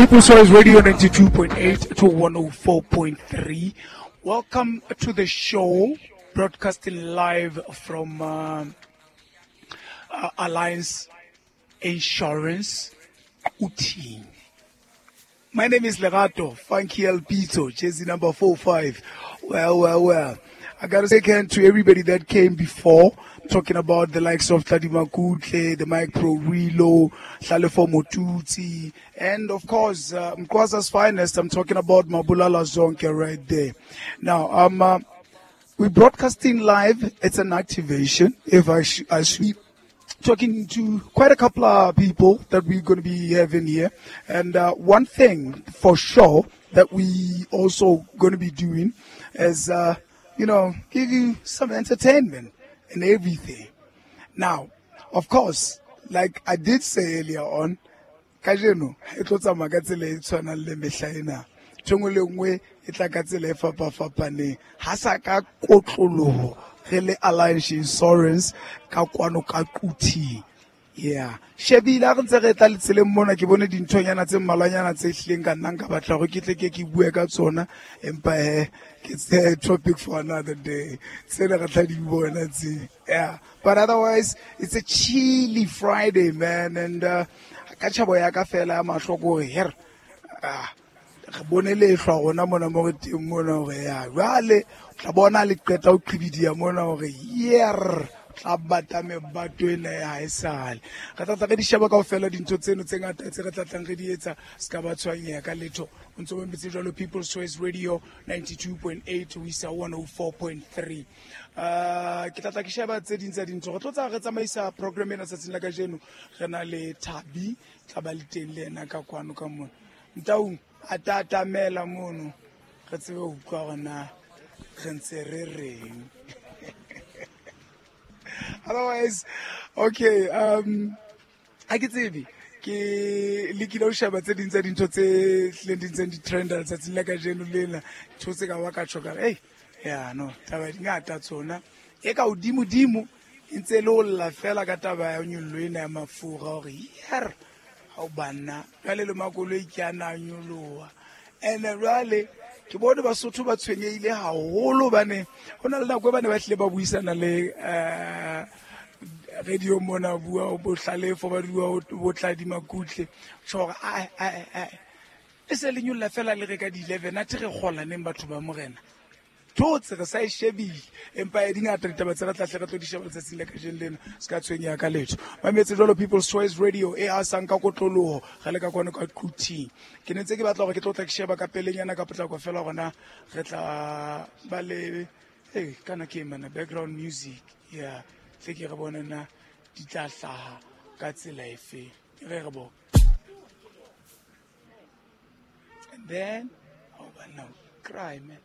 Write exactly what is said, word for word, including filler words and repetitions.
People's Choice Radio ninety-two point eight to one oh four point three. Welcome to the show, broadcasting live from, uh, uh, Alliance Insurance, Uti. My name is Lerato, Funky El Pito, jersey number four five. Well, well, well. I gotta say again to everybody that came before, talking about the likes of Tladi Makutle, the Mike Pro Rilo, Hlalefo Motuti, and of course, uh, Mkwaza's finest. I'm talking about Mabulala Zonke right there. Now, um, uh, we're broadcasting live. It's an activation. If I, sh- I should be talking to quite a couple of people that we're gonna be having here. And, uh, one thing for sure that we also gonna be doing is, uh, you know, give you some entertainment and everything. Now, of course, like I did say earlier on, kajeno e tlo tsamaya ka tsela e tshwanang le mehla ena. Ntho e nngwe le nngwe e tla ka tsela e fapafapaneng. Ha sa ka kotloloho re le Alliance Insurance ka kwano ka Quthing. Yeah. Shebile ha re ntse re tla le tseleng mona, ke bone dinthonyana tse mmalwanyana tse hlileng ka nna nka batla hore ke tle ke ke bue ka tsona, empa he, ke tse topic for another day. Tsena re tla di bona tse. Yeah. But otherwise, it's a chilly Friday, man, and, uh, ka tjhabo ya ka fela ya mahlo ke hore, her, ah, re bone lehlwa rona mona mo re teng mona hore ya, jwale o tla bona le qeta ho qhibidiya mona hore, yer, tla bata mebato ena ya haesale. Re tla tla re di sheba kaofela dintho tseno tse ngata tse re tla tlang re di etsa, se ka ba tshwanyeha ka letho. O ntso mametse jwalo People's Choice Radio ninety-two point eight ho isa one oh four point three. Uh, ke tla tla ke sheba tse ding tsa dintho. Re tlo tsa re tsamaisa program ena tsatsing la kajeno. Re na le Thabi, tla ba le teng le yena ka kwano ka mona. Ntaung, a tatamela mono, re tsebe ho utlwa hore na re ntse re reng. Otherwise, okay, um, ha ke tsebe, ke lekile ho sheba tse ding tsa dintho tse hlileng di ntseng di trenda letsatsing la kajeno lena. Ntho tse ka ba ka tjho ka re, ei, ya, no, taba di ngata tsona. E ka hodimodimo, e ntse e le ho lla fela ka taba ya nyollo ena ya mafura hore, yer, ha o banna, jwale le makoloi ke a na nyoloha. Ene jwale, ke bone Basotho ba tshwenyehile haholo hobane ho na le nako e ba ne ba hlile ba buisana le, eh, radio mona, bua bo Hlalefo, ba bua bo Tladi Makutle. Tjho hore, ai, ai, ai, e se le nyolla fela le re ka di eleven, athe re kgola neng batho ba morena. Thotse re sa e shebile, empa e di ngata ditaba tse re tla hle re tlo di sheba letsatsing la kajeno lena, se ka tshwenyeha ka letho. Mametse jwalo People's Choice Radio e asang ka kotloloho, re le ka kwano ka Quthing. Ke ne ntse ke batla hore ke tlo tla ke sheba ka pelenyana ka potlako fela hore na re tla ba le, hey, kana ke mana background music, yeah, tle ke re bone na di tla hlaha ka tsela efe. Re re bo. And then, oh, but no, cry, man.